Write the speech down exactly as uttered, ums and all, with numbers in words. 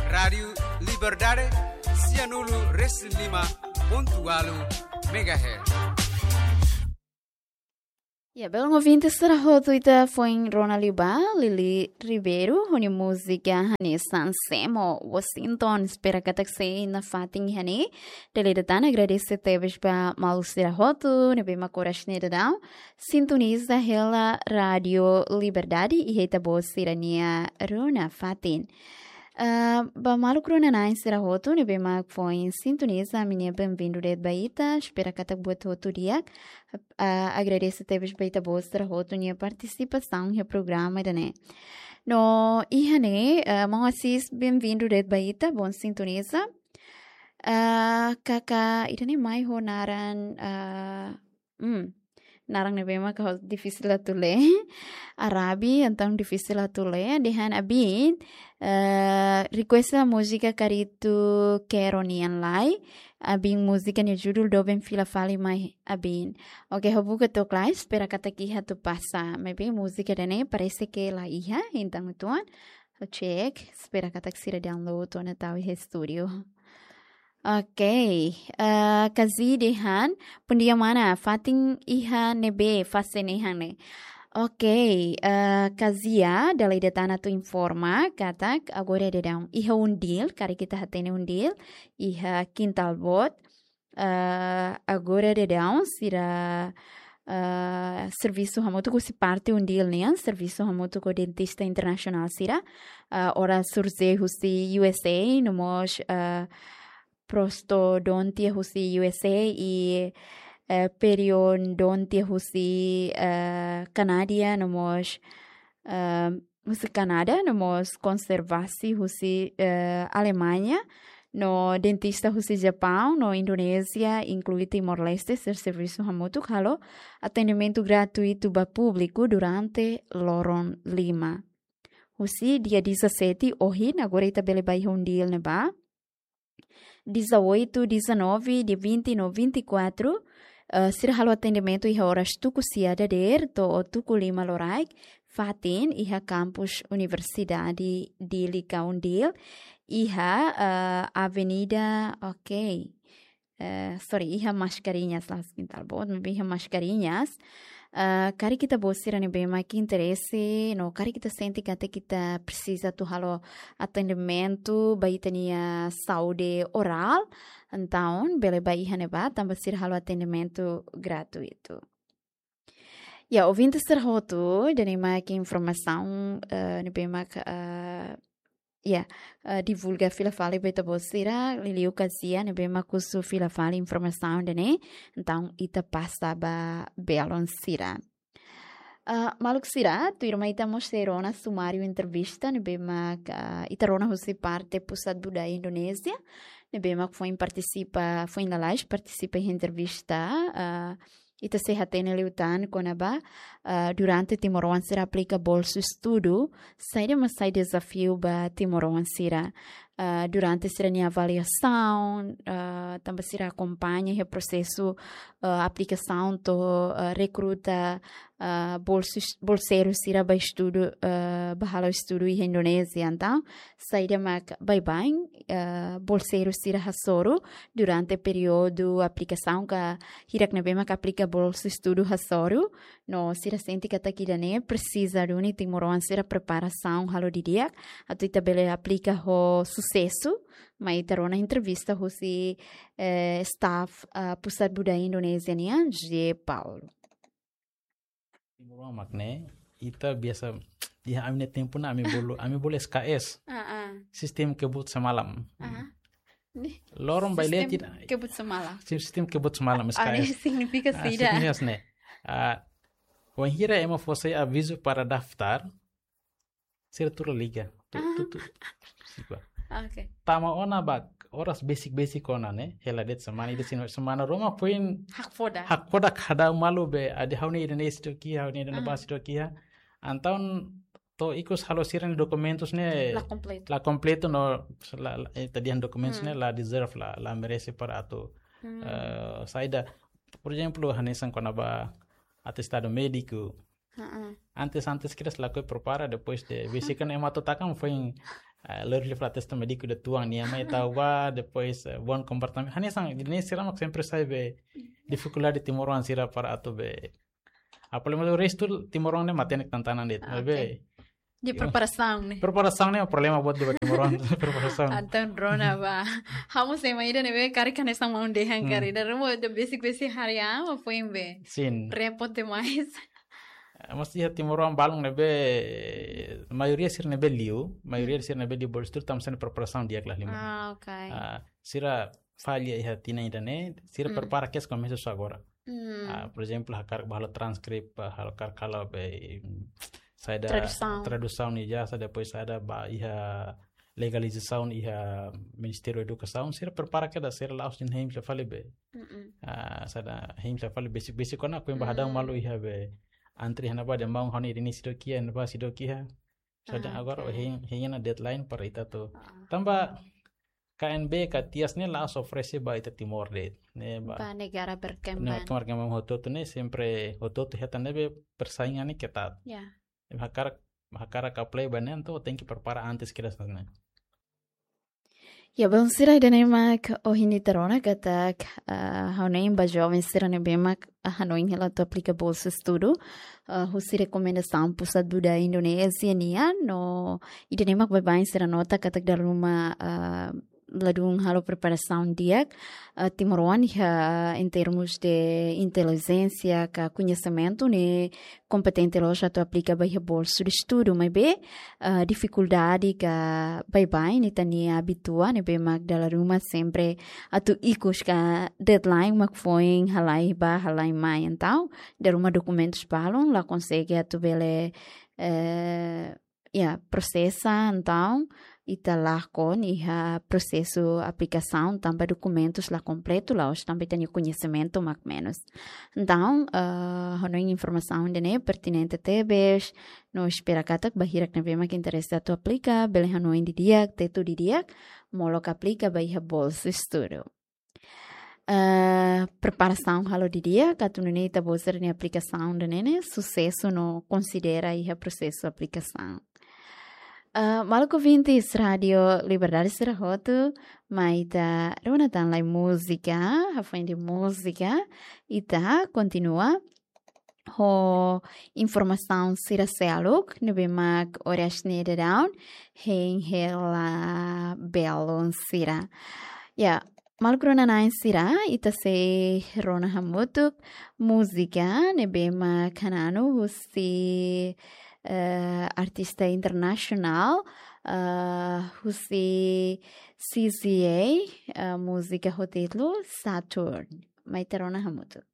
Rádiu Liberdade, sianulu resin lima pontu ualu megahertz. Ya, belun ouvinte sira hotu, ita foin rona liu ba Lili Ribeiro ho nia múzika hanesan Semo Washington. Espera katak sei nafatin iha ne'e. Dala ida tan agradese tebes ba maluk sira hotu ne'ebé mak oras ne'e daudaun sintoniza hela Rádiu Liberdade iha ita-boot sira-nia rona fatin. Ah, ba maluk rona-na'in sira hotu ne'ebé mak foin sintoniza, ami-nia benvindu de'it ba ita. Espera katak buat hotu di'ak. Ah, agradese tebes ba ita-boot sira hotu nia partisipasaun iha programa ida-ne'e. No iha ne'e, ah, maun Assis, benvindu de'it ba ita, bom sintoniza. Ah, kaka ida-ne'e mai ho naran, ah, hmm, naran ne'ebé mak difisil atu lee. Arabi, entaun difisil atu lee. Dehan Abin, eh, request múzika Karitu Kero nian lai. Abin múzika nia judul doben fila fali mai Abin. Oke, ha'u buka took lai, espera katak iha atu pasa. Maibé múzika ida-ne'e parese ke la iha, entaun uitoan. Ha'u cek, espera katak sira download ona tau iha estúdiu. Oke, eh, Kazi dehan, bom dia mana, fatin iha ne'ebé fase nehan ne'e. Oke, eh, Kazia, dala ida tan atu informa katak agora daudaun iha UNDIL, karik ita hatene UNDIL, iha Kintal Boot. Eh, agora daudaun sira, eh, servisu hamutuk husi parte UNDIL nian, servisu hamutuk ho dentista internasionál sira, eh, oral surgery husi U S A, no mós, eh, prostodontia husi U S A i, eh, periodontia husi, eh, Kanada, no mós, eh, husi Kanada, no mós konservasi husi, eh, Alemaña, no dentista husi Japaun, no Indonézia, inklui Timor-Leste, sira servisu hamutuk halo atendimentu gratuitu ba públiku durante loron lima. Husi dia dezassete, ohin, agora ita bele bá iha UNDIL ne'ebá. Dezoito, dezanove, dia vinte no vinte e quatro, eh, sira halo atendimentu iha oras tuku sia dadeer to'o tuku lima loraik, fatin iha kampus Universidade Dili ka UNDIL, iha, eh, Avenida, oke. Eh, sorry, iha Mascarenhas, la'ós Kintal Boot, maibé iha Mascarenhas. Eh, karik ita-boot sira ne'ebé mak interese, no karik ita sente katak ita presiza atu halo atendimentu ba ita-nia saúde oral, entaun bele bá iha ne'ebá, tanba sira halo atendimentu gratuitu. Ya, ouvinte sira hotu, ida-ne'e mak informasaun, eh, ne'ebé mak, eh, ya, eh, divulga fila fali ba ita-boot sira, liuliu Kazia, ne'ebé mak husu fila fali informasaun ida-ne'e, entaun ita pasa ba belun sira. Ah, maluk sira, tuirmai ita mós sei rona sumáriu entrevista, ne'ebé mak, ah, ita rona husi parte Pusat Budaya Indonézia, ne'ebé mak foin partisipa, foin lalais partisipa iha entrevista, ah, ita sei hatene liután kona-ba, ah, durante timoroan sira aplika bolsu estudu, saida mak sai dezafiu ba timoroan sira, ah, durante sira-nia avaliasaun, ah, tanba sira akompaña iha prosesu, ah, aplikasaun to'o, ah, rekruta, ah, bolsu-, bolseiru sira ba estudu, ah, ba halo estudu iha Indonézia. Entaun, saida mak baibain, ah, bolseiru sira hasoru durante períodu aplikasaun ka hirak ne'ebé mak aplika bolsu estudu hasoru, no sira sente katak ida-ne'e presiza duni timoroan sira preparasaun halo didi'ak, atu ita bele aplika ho susesu, mai ita rona entrevista husi, eh, staff, ah, Pusat Budaya Indonézia nian, J Paulo. Timoroan mak ne'e, ita biasa, iha ami-nia tempu ne'e ami bolu, ami bolu S K S. Ah, ah. Sistema kebut semalam. Ah. Nih. Loron bailé. Sistema tidak. Kebut semalam. Sim-, sistema kebut semalam, Ah, S K S. Ne'e signifika Ah, saida? Signifika ne'e. Ah, wainhira ema fó sai avizu para daftar, sira tuur la liga. Tu, Ah. tu, tu. Sipa. Oke. Tama ona ba oras besik-besik ona ne'e, hela de'it semana, ida semana, semana ruma foin Hakfodak. Hakfodak kada malu be, adi ha'u-nia ida-ne'e sitoki, ha'u-nia ida-ne'e Ah. bá sitoki. Entaun to'o ikus halo sira-nia dokumentus ne'e La kompletu. la kompletu no la, la, eh, ita dehan dokumentus Hmm. ne'e la deserve, la, la merese para atu, Hmm. eh, saida. Por ezemplu, hanesan kona-ba atestadu médiku, Antes, antes kira selaku prepara, depois de bisikan ema atu taka, foin, eh, lori fla testa médiku de tuan nia mai tau ba, depois, eh, bom comportamento. Hanesan, ne'e sira mak sempre sai be difikuldade timoroan sira para atu be. Apalagi restu timoroan ne'e matenek tantanan de'it, be. De preparasaun ne'e. Preparasaun ne'e problema buat de timoroan, preparasaun. Entaun rona ba. Ha'u mós ema ida ne'ebé karik hanesan maun dehan karik. Ida ruma de besik-besik harian, foin be. Sin. Repot demais. Eh, mós iha timoroan balun ne'ebé, maioria sira ne'ebé liu, maioria sira ne'ebé liu bolsu estudu, tanba sira-nia preparasaun di'ak la halimar. Ah, ok. Ah, sira falla iha tinan ida-ne'e, sira prepara kedas komesa só agora. Ah, por ezemplu, hakarak ba halo transkrip, ah, hakarak halo be, mm, saida tradusaun. Tradusaun ijazah, depois saida ba iha legalizasaun iha Ministériu Edukasaun, sira prepara kedas, sira la'ós dehan hein sira fali be. Ah, saida hein sira fali besik-besik kona, foin ba hadau malu iha be antri iha ne'ebá dehan maun ha'u-nia ida-ne'e seidauk iha, ne'ebá seidauk iha. Saida agora hein, hein ona deadline para ita atu. Tanba K N B ka TIAS ne'e la'ós oferese ba ita Timor de'it. Ne'e ba. Ba negara berkembang. Negara berkembang hotu-hotu ne'e sempre hotu-hotu hetan ne'ebé persaingan ne'e ketat. Ya. Hakarak, hakarak apply ba ne'e entaun tenke prepara antes kedas ne'e. Ya, belun sira, ida-ne'e mak ohin ita rona katak, ah, ha'u hanoin ba joven sira ne'ebé mak, ah, hanoin hela atu aplika bolsa estudu, ah, husi rekomendasaun Pusat Buda Indonézia nian, no ida-ne'e mak baibain sira nota katak dala ruma, ah, ladún halo preparasaun di'ak, ah, timoroan iha em termos de intelijénsia ka koñesimentu ne'e kompetente loos atu aplika ba iha bolsu de estudu, maibé, ah, difikuldade ka baibain ita-nia abitua ne'ebé mak dala ruma sempre atu ikus ka deadline mak foin halai ba, halai mai. Entaun, dala ruma dokumentus balun, la konsege atu bele, eh, ya, prosesa, entaun, ita lakon iha prosesu aplikasaun tanba dokumentus la kompletu, la'ós tanba ita-nia koñesimentu mak menus. Entaun, eh, hanoin informasaun ida-ne'e pertinente tebes, no espera katak ba hirak ne'ebé mak interese atu aplika, bele hanoin didi'ak, tetu didi'ak, molok aplika ba iha bolsu estudu. Eh, preparasaun halo didi'ak, atu nune'e ita-boot sira-nia aplikasaun ida-ne'e ne'e susesu no konsidera iha prosesu aplikasaun. Eh, maluk ouvintes Rádio Liberdade sira hotu, mai ita rona tan lai múzika, hafoin de múzika, ita kontinua ho informasaun sira seluk, ne'ebé mak oras ne'e daudaun, hein hela belun sira. Ya, maluk rona-na'in sira, ita sei rona hamutuk múzika ne'ebé mak hananu husi, eh, artista internasionál, eh, husi C Z A, eh, múzika ho títulu Saturn. Mai ita rona hamutuk.